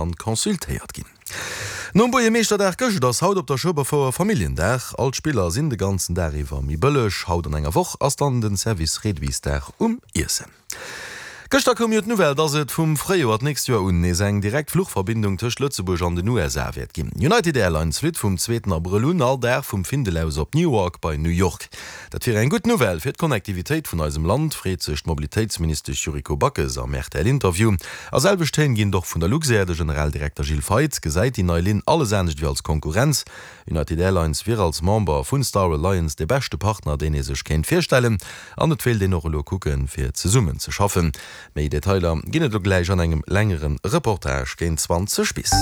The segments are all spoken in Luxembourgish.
An consultéiert ginn. Nom Buergermeeschterdag gëscht ass haut op der Schueberfouer Familljendag. All d'Spiller sinn de ganzen Dag iwwer méi bëlleg. Haut an enger Woch ass dann den Service Réduitsdag um Iessen. Gëschter koum jo d'Nouvelle, dass et vum Fréijoer d'nächst Joer un nees eng direkt Fluchverbindung tëscht Lëtzebuerg an den USA wäert ginn. United Airlines flitt vum zweeten Abrëll un all Dag vum Findel aus op Newark bei New York. Dat wier eng gutt Nouvelle fir d'Connectivitéit vun eisem Land, freet sech d'Mobilitéitsministesch Yuriko Backes am RTL-Interview. A selwecht Téin ginn et och vun der Luxair. De Generaldirekter Gilles Feith gesäit déi nei Linn alles anescht ewéi als Konkurrenz. United Airlines wier als Member vun Star Alliance dee beschte Partner, deen ee sech kéint virstellen. An et wéilt een och elo kucken, fir zesummen ze schaffen. Méi Detailer ginn et elo gläich an engem längere Reportage géint 20 bis.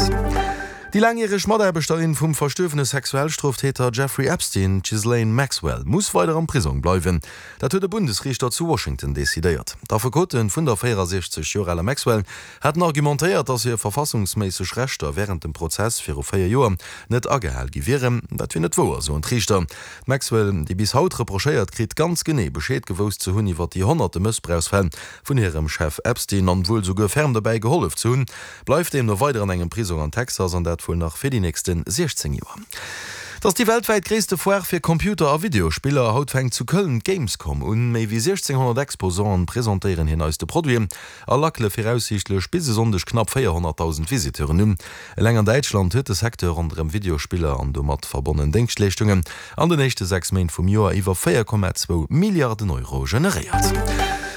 Déi laangjäreg Mataarbechterin vum verstuerwene Sexualstroftäter Jeffrey Epstein, d'Ghislaine Maxwell, muss weider am Prisong bleiwen. Dat huet e Bundesriichter zu Washington decidéiert. D'Affekote vun der 64 Joer aler Maxwell haten argumentéiert, datt hir verfassungsméisseg Rechter wärend dem Prozess viru 4 Joer net agehal gi wieren. Dat wier net wouer, soen d'Riichter. D'Maxwell, déi bis haut reprochéiert kritt, ganz genee Bescheed gewousst ze hunn iwwer déi honnerte Mëssbrauchsfäll vun hirem Chef Epstein an wuel souguer ferm dobäi gehollef ze hunn, bleift deemno weider an engem Prisong an Texas, an dat wuel nach fir déi nächste 16 Joer. Et ass déi weltwäit gréisste Foire fir Computer a Videospiller. Haut fänkt zu Köln d'Gamescom un. Méi wéi 1.600 Exposanten presentéieren hir neiste Produiten a lackele viraussiichtlech bis e Sonndeg knapp 400.000 Visiteuren un. Eleng an Däitschland huet de Secteur ronderëm Videospiller an domat verbonnen Déngschtleeschtungen an den éischte 6 Méint vum Joer iwwer 4,2 Milliarden Euro generéiert.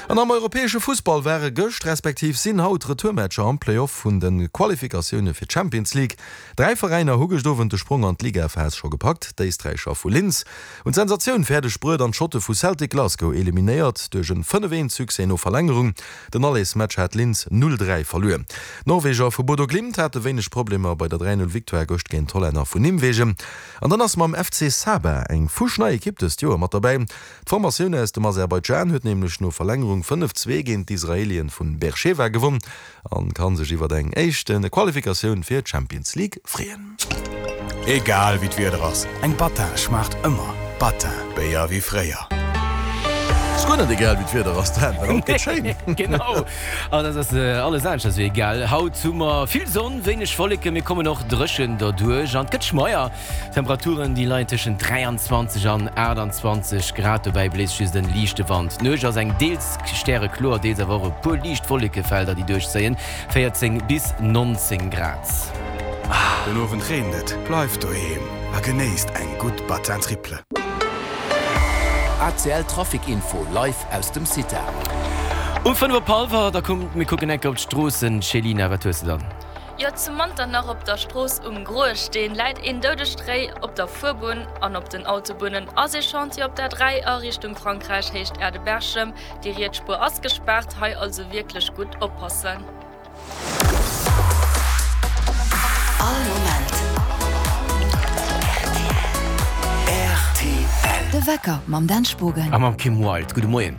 An am europäesche Fussball ware gëscht respektiv sinn haut Retourmatcher am Play-Off vun de Qualifikatioune fir d'Champions League. Dräi Veräiner hu gëscht Owend de Sprong an d'Ligaphas scho gepackt, D'Éisträicher vu Linz hunn d'Sensatioun fäerdeg bruet an d'Schotte vu Celtic Glasgow eliminéiert duerch en 5, 1 Succès no Verlängerung. Den Allersmatch hat Linz 0, 3 verluer. D'Norweger vu Bodo Glimt hate wéineg Problemer bei der 3, 0 Victoire gëscht géint d'Hollänner vun Nimwegen. An dann ass mam FC Sabah eng fuschnei Ekipp dëst Joer mat derbäi. D'Formatioun aus dem Aserbaidschan huet nämlech no Verlängerung 5, 2 géint d'Israelien vun Beersheva gewonn an kann sech iwwert eng éischte Qualifikatioun fir d'Champions League freeën. Egal wéi d'Wieder ass, eng Battin schmaacht ëmmer. Battin, Béier wéi fréier. Ass guer net egal wéi d'Wieder ass, Dan, well haut gëtt schéin. Genau, an et ass alles aneschters wéi egal. Haut hu mer vill Sonn, wéineg Wolleken, mir kommen och dréchen derduerch an et gëtt schmeier. D'Temperaturen déi leien tëschent 23 an 28 Grad, dobäi bléist just en liichte Wand. D'Nuecht ass eng deels stärekloer, deels awer och e puer liicht Wollekefelder déi duerchzéien, 14 bis 19 Grad. Den Owend reent et, bleift doheem a genéisst eng gutt Battin Triple. ACL Trafic Info live aus dem CITA. Um 5 op hallwer, da kommt mir kucken enke op d'Stroossen. Céline, wat hues de dann? Jo, zu Manternach op der Strooss um Groe Steen läit een doudegt Réi op der Fuerbunn an op den Autobunnen ass ee Chantier op der 3 a Richtung Frankräich Héicht Aerdeberchem. Déi riets Spuer ass gespaart, hei also wierklech gutt oppassen. All Moment rtl. De Wecker mam Dan Spogen. A mam Kim Wilde. Gudde Moien.